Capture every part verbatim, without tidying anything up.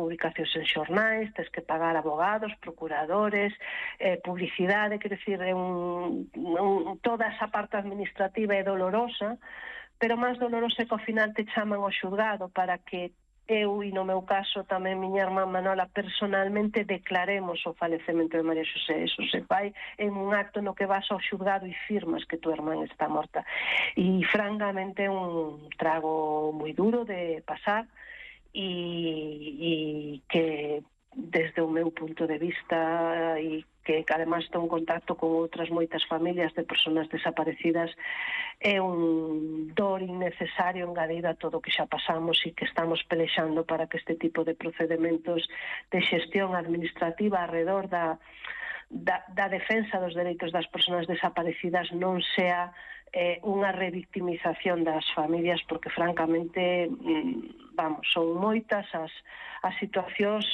publicacións en xornais, tens que pagar abogados, procuradores, eh, publicidade, quer decir, é un, un, toda esa parte administrativa é dolorosa, pero máis dolorosa é que ao final te chaman ao xulgado para que eu, e no meu caso tamén miña irmá Manola, personalmente declaremos o falecemento de María Xosé. Eso se fai en un acto no que vas ao xulgado e firmas que tu irmán está morta. E francamente é un trago moi duro de pasar e, e que desde o meu punto de vista e que, que además estou en contacto con outras moitas familias de persoas desaparecidas, é un dor innecesario engadido a todo o que xa pasamos e que estamos pelexando para que este tipo de procedementos de xestión administrativa alrededor da, da, da defensa dos dereitos das persoas desaparecidas non sea eh, unha revictimización das familias, porque francamente, vamos, son moitas as, as situacións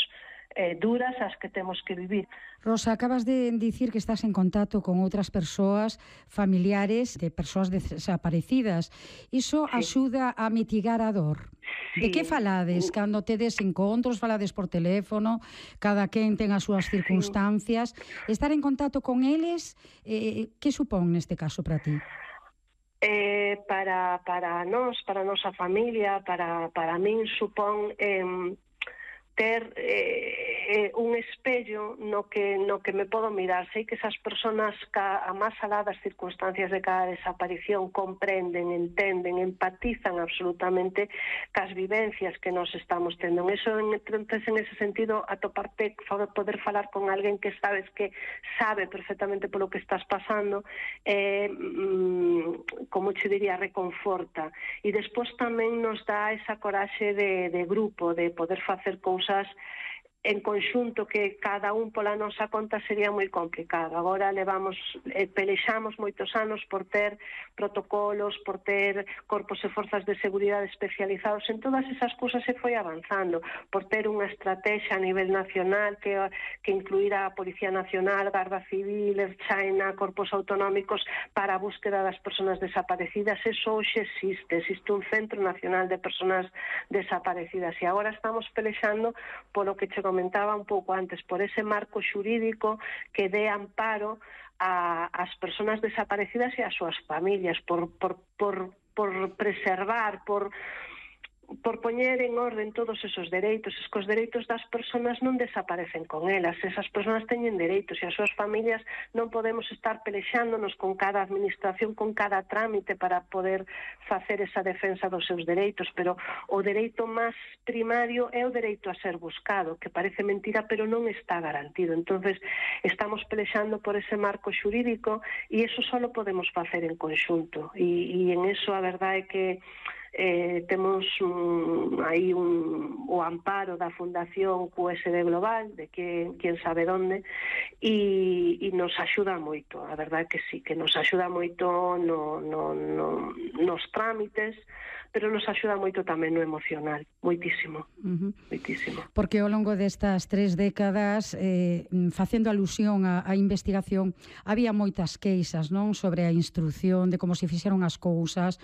Eh, duras as que temos que vivir. Rosa, acabas de dicir que estás en contacto con outras persoas familiares de persoas desaparecidas. Iso sí. Axuda a mitigar a dor? Sí. De que falades? Cando tedes encontros, falades por teléfono, cada quen ten as súas circunstancias. Sí. Estar en contacto con eles, eh, que supón neste caso para ti? Eh, para, para nós, para a nosa familia, para, para min supón... Eh, ter eh, un espello no que no que me podo mirar. Sei que esas persoas ca, a máis alá das circunstancias de cada desaparición comprenden, entenden, empatizan absolutamente cas vivencias que nos estamos tendo. En eso, entonces, en ese sentido, atoparte, poder falar con alguén que sabes que sabe perfectamente polo que estás pasando, eh, mm, como che diría, reconforta. E despois tamén nos dá esa coraxe de, de grupo, de poder facer cousas en conxunto que cada un pola nosa conta sería moi complicado. Agora levamos, eh, pelexamos moitos anos por ter protocolos, por ter corpos e forzas de seguridade especializados en todas esas cousas, se foi avanzando, por ter unha estrategia a nivel nacional que, que incluirá a Policía Nacional, Garda Civil, Erchaina, corpos autonómicos para a búsqueda das persoas desaparecidas. Eso hoxe existe, existe un Centro Nacional de Persoas Desaparecidas e agora estamos pelexando polo que che comentaba un pouco antes, por ese marco xurídico que dé amparo a, as persoas desaparecidas e as súas familias, por, por, por, por preservar, por... por poñer en orden todos esos dereitos. Es que os dereitos das persoas non desaparecen con elas, esas persoas teñen dereitos e as súas familias non podemos estar pelexándonos con cada administración, con cada trámite para poder facer esa defensa dos seus dereitos, pero o dereito máis primario é o dereito a ser buscado, que parece mentira, pero non está garantido. Entonces estamos pelexando por ese marco xurídico e eso só podemos facer en conxunto, e, e en eso a verdade é que Eh, temos um, aí un, o amparo da Fundación Q S D Global, de que, quien sabe onde, e, e nos axuda moito, a verdade que sí, que nos axuda moito no, no, no, nos trámites, pero nos axuda moito tamén no emocional, moitísimo, uh-huh. moitísimo. Porque ao longo destas tres décadas, eh, facendo alusión á, á investigación, había moitas queixas, non, sobre a instrucción, de como se fixeron as cousas,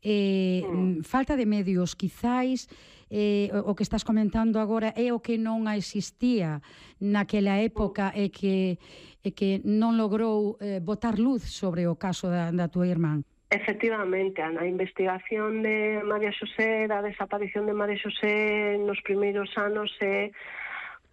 eh, mm. falta de medios, quizáis, eh, o que estás comentando agora é o que non existía naquela época e que, e que non logrou eh, botar luz sobre o caso da, da tua irmán. Efectivamente, a investigación de María Xosé, da desaparición de María Xosé nos primeiros anos é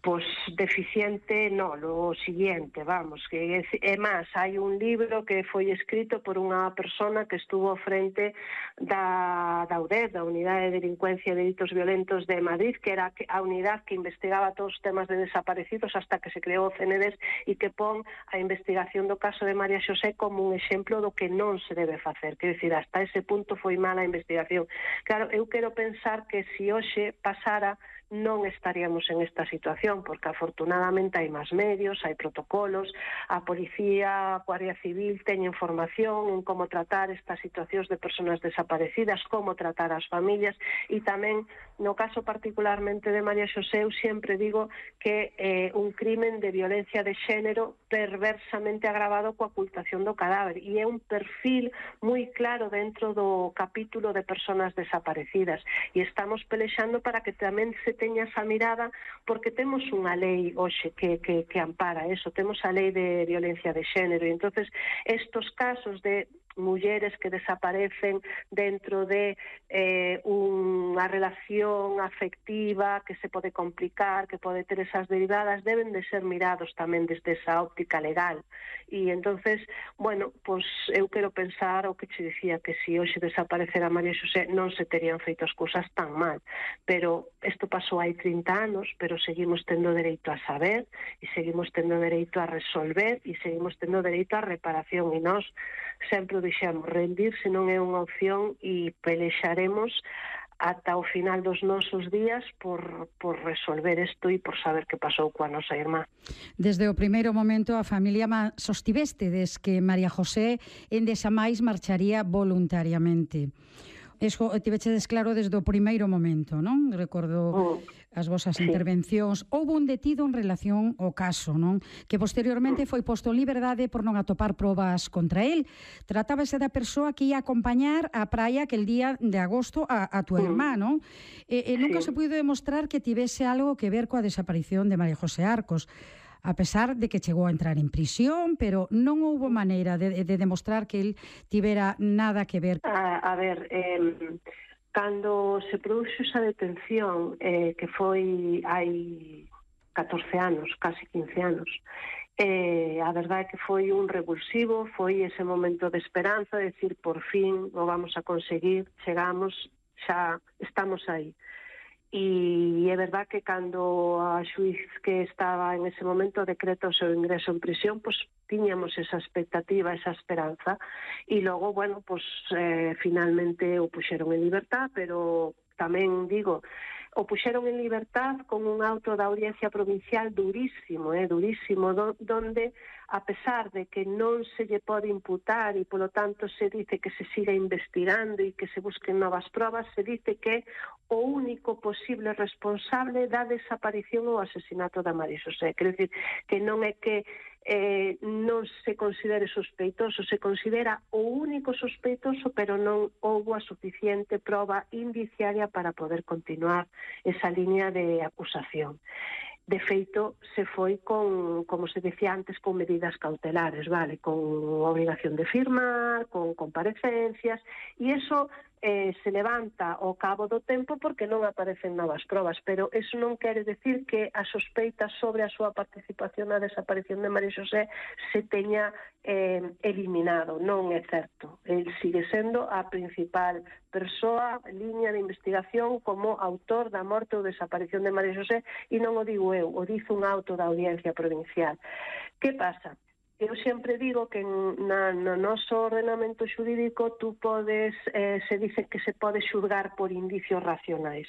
pois deficiente, no, lo siguiente, vamos, que é, é máis, hai un libro que foi escrito por unha persona que estuvo frente da, da U D E, da Unidade de Delincuencia e Delitos Violentos de Madrid, que era a unidade que investigaba todos os temas de desaparecidos hasta que se creou o C N D E S e que pon a investigación do caso de María Xosé como un exemplo do que non se debe facer, quer dizer, hasta ese punto foi mala a investigación. Claro, eu quero pensar que se hoxe pasara non estaríamos en esta situación, porque afortunadamente hai máis medios, hai protocolos, a policía, a Guardia Civil teñen formación en como tratar estas situacións de persoas desaparecidas, como tratar as familias, e tamén, no caso particularmente de María Xosé, eu sempre digo que é eh, un crimen de violencia de xénero perversamente agravado coa ocultación do cadáver, e é un perfil moi claro dentro do capítulo de persoas desaparecidas, e estamos pelexando para que tamén se teña esa mirada, porque temos unha lei hoxe que, que, que ampara eso, temos a lei de violencia de xénero, e entonces estos casos de mulleres que desaparecen dentro de eh, unha relación afectiva que se pode complicar, que pode ter esas derivadas, deben de ser mirados tamén desde esa óptica legal. E entonces, bueno, pois eu quero pensar o que che dicía, que se hoxe desaparecera María Xosé non se terían feito as cousas tan mal, pero isto pasou hai trinta anos, pero seguimos tendo dereito a saber, e seguimos tendo dereito a resolver, e seguimos tendo dereito a reparación, e nós sempre dixemos, rendirse non é unha opción e pelexaremos ata o final dos nosos días por, por resolver isto e por saber que pasou coa nosa irmá. Desde o primeiro momento a familia sostivestedes que María José Endesamais marcharía voluntariamente. Eso tivechedes claro desde o primeiro momento, non? Recordo mm, as vosas sí. intervencións. Houve un detido en relación ao caso, non? Que posteriormente foi posto en liberdade por non atopar probas contra el. Tratábase da persoa que ia acompañar á praia aquel día de agosto a, a tua mm. irmá, non? E, e nunca sí. se puido demostrar que tivese algo que ver coa desaparición de María José Arcos, a pesar de que chegou a entrar en prisión, pero non houbo maneira de, de demostrar que el tivera nada que ver. A, a ver, eh, cando se produxo esa detención, eh, que foi hai catorce anos, casi quince anos, eh, a verdade é que foi un revulsivo, foi ese momento de esperanza, de decir, por fin o vamos a conseguir, chegamos, xa estamos aí. E é verdad que cando a xuiz que estaba en ese momento decreta o seu ingreso en prisión, pois tiñamos esa expectativa, esa esperanza, e logo, bueno, pois eh, finalmente o puxeron en libertad, pero tamén digo, o puxeron en libertad con un auto da Audiencia Provincial durísimo, eh, durísimo, do, donde, a pesar de que non se lle pode imputar e, polo tanto, se dice que se siga investigando e que se busquen novas probas, se dice que o único posible responsable da desaparición ou asesinato da María Xosé. Quer dizer, que non é que eh, non se considere sospeitoso, se considera o único sospeitoso, pero non houbo a suficiente proba indiciaria para poder continuar esa línea de acusación. De feito, se foi con, como se decía antes, con medidas cautelares, vale, con obligación de firmar, con comparecencias, e iso eh, se levanta ao cabo do tempo porque non aparecen novas probas, pero eso non quere decir que a sospeita sobre a súa participación na desaparición de María Xosé se teña eh, eliminado. Non é certo. El sigue sendo a principal persoa, liña de investigación como autor da morte ou desaparición de María Xosé, e non o digo eu, o dice un auto da Audiencia Provincial. Que pasa? Eu sempre digo que na, no noso ordenamento xurídico tú podes, eh, se dice que se pode xulgar por indicios racionais.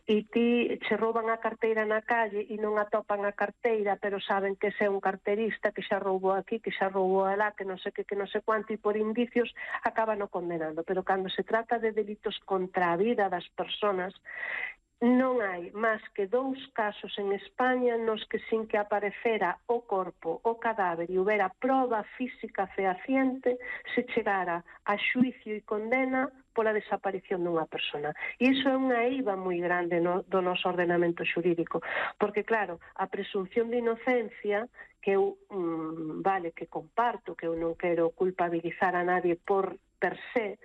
E ti che rouban a carteira na calle e non atopan a carteira, pero saben que ese é un carterista que xa roubou aquí, que xa roubou alá, que non sei que, que non sei cuánto, e por indicios acaban o condenando. Pero cando se trata de delitos contra a vida das persoas, non hai máis que dous casos en España nos que sin que aparecera o corpo, o cadáver e houbera proba física fehaciente se chegara a xuicio e condena pola desaparición dunha persona. E iso é unha eiva moi grande no, do noso ordenamento xurídico, porque claro, a presunción de inocencia que eu, mmm, vale, que comparto, que eu non quero culpabilizar a nadie por per se,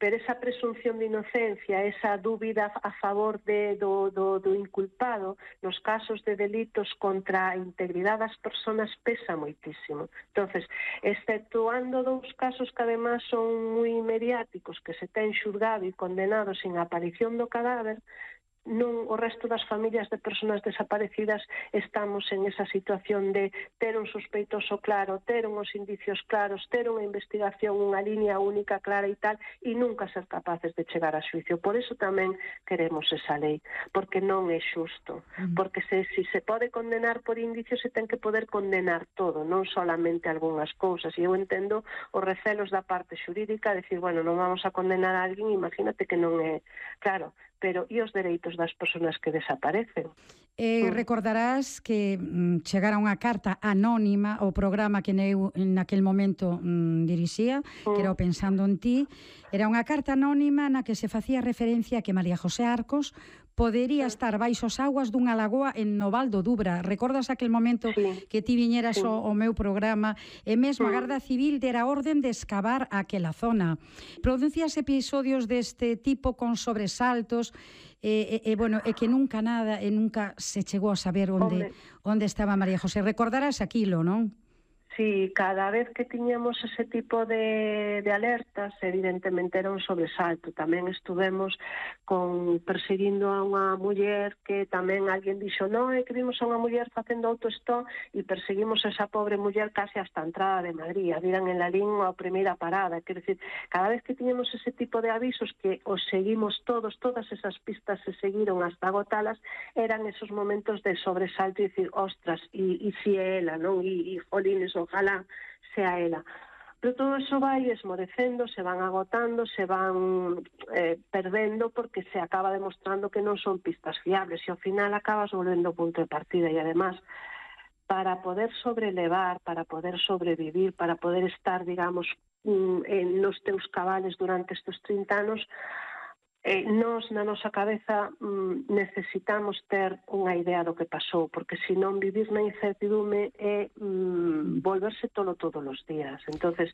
pero esa presunción de inocencia, esa dúbida a favor de, do, do, do inculpado, nos casos de delitos contra a integridade das persoas pesa moitísimo. Entonces, exceptuando dous casos que además son moi mediáticos, que se ten xulgado e condenado sin aparición do cadáver, non, o resto das familias de persoas desaparecidas estamos en esa situación de ter un sospeitoso claro, ter uns indicios claros, ter unha investigación, unha línea única clara e tal, e nunca ser capaces de chegar a xuicio. Por eso tamén queremos esa lei, porque non é xusto, porque se, se se pode condenar por indicios se ten que poder condenar todo, non solamente algunhas cousas, e eu entendo os recelos da parte xurídica, decir, bueno, non vamos a condenar a alguén, imagínate que non é, claro, pero e os dereitos das persoas que desaparecen. Eh, recordarás que mm, chegara unha carta anónima ao programa que eu naquel momento mm, dirixía, mm. que era o Pensando en Ti. Era unha carta anónima na que se facía referencia a que María José Arcos podería estar baixo as augas dunha lagoa en Noval do Dubra. Recordas aquel momento sí. que ti viñeras sí. ao, ao meu programa e mesmo a Garda Civil dera orden de excavar aquela zona. Producías episodios deste tipo con sobresaltos e, e, e, bueno, e que nunca nada e nunca se chegou a saber onde, onde estaba María José. Recordarás aquilo, non? Sí, cada vez que tiñamos ese tipo de, de alertas, evidentemente era un sobresalto. Tamén estuvemos con perseguindo a unha muller que tamén alguén dixo, non, é que vimos a unha muller facendo autostop e perseguimos a esa pobre muller case hasta a entrada de Madrid. A viran en la línea a primeira parada. Quer decir, cada vez que tiñamos ese tipo de avisos que os seguimos todos, todas esas pistas se seguiron hasta agotalas, eran esos momentos de sobresalto e dicir, ostras, e, e si é ela, non? E, e jolines, ojalá sea ela. Pero todo eso vai esmorecendo, se van agotando, se van eh, perdendo porque se acaba demostrando que non son pistas fiables e ao final acabas volvendo ao punto de partida e además para poder sobrelevar, para poder sobrevivir, para poder estar, digamos, en nos teus cabales durante estes trinta anos, Eh, nós, na nosa cabeza, mm, necesitamos ter unha idea do que pasou, porque senón vivir na incertidume é mm, volverse todo todos os días. Entonces,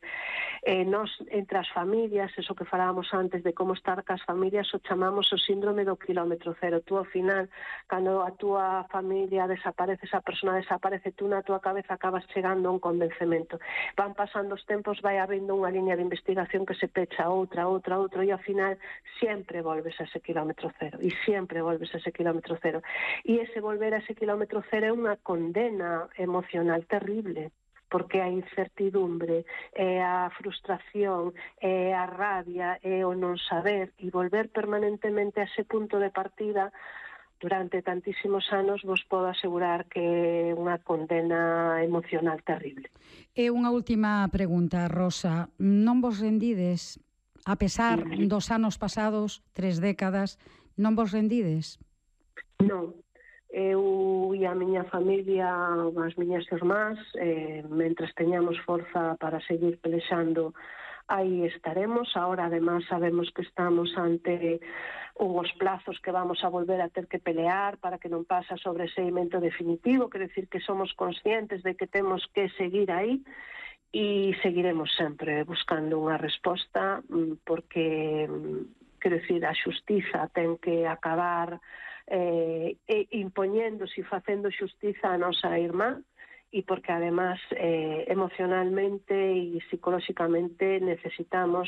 eh, nós, entre as familias, eso que falábamos antes de como estar cas familias, o chamamos o síndrome do kilómetro cero. Tú, ao final, cando a túa familia desaparece, esa persona desaparece, tú na túa cabeza acabas chegando a un convencemento. Van pasando os tempos, vai habindo unha liña de investigación que se pecha outra, outra, outra, e ao final, sempre volves a ese kilómetro cero e sempre volves a ese kilómetro cero e ese volver a ese kilómetro cero é unha condena emocional terrible porque a incertidumbre, é a frustración, é a rabia, é o non saber e volver permanentemente a ese punto de partida durante tantísimos anos vos podo asegurar que é unha condena emocional terrible. E unha última pregunta, Rosa, non vos rendides? A pesar dos anos pasados, tres décadas, non vos rendides? Non. Eu e a miña familia, as miñas irmás, eh, mentres teñamos forza para seguir pelexando, aí estaremos. Ahora, además, sabemos que estamos ante unhos plazos que vamos a volver a ter que pelear para que non pase a sobreseimento definitivo, quer decir que somos conscientes de que temos que seguir aí, e seguiremos sempre buscando unha resposta porque, quero dicir, a xustiza ten que acabar eh, impoñéndose e facendo xustiza a nosa irmá e porque, además, eh, emocionalmente e psicolóxicamente necesitamos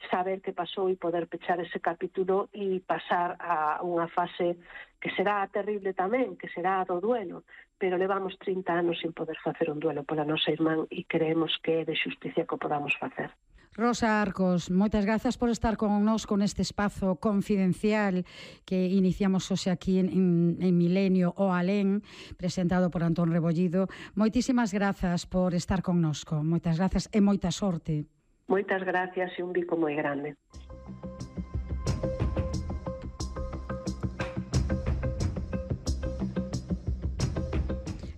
saber que pasou e poder pechar ese capítulo e pasar a unha fase que será terrible tamén, que será a do duelo, pero levamos trinta anos sin poder facer un duelo pola nosa irmán e creemos que é de xusticia que o podamos facer. Rosa Arcos, moitas grazas por estar con nós con este espazo confidencial que iniciamos hoxe aquí en, en, en Milenio o Alén, presentado por Antón Rebollido. Moitísimas grazas por estar con nosco. Moitas grazas e moita sorte. Moitas gracias e un bico moi grande.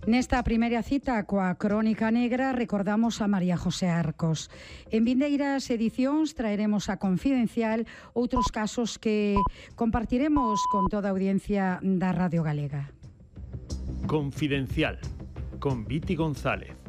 Nesta primeira cita coa Crónica Negra recordamos a María José Arcos. En vindeiras edicións traeremos a Confidencial outros casos que compartiremos con toda a audiencia da Radio Galega. Confidencial, con Viti González.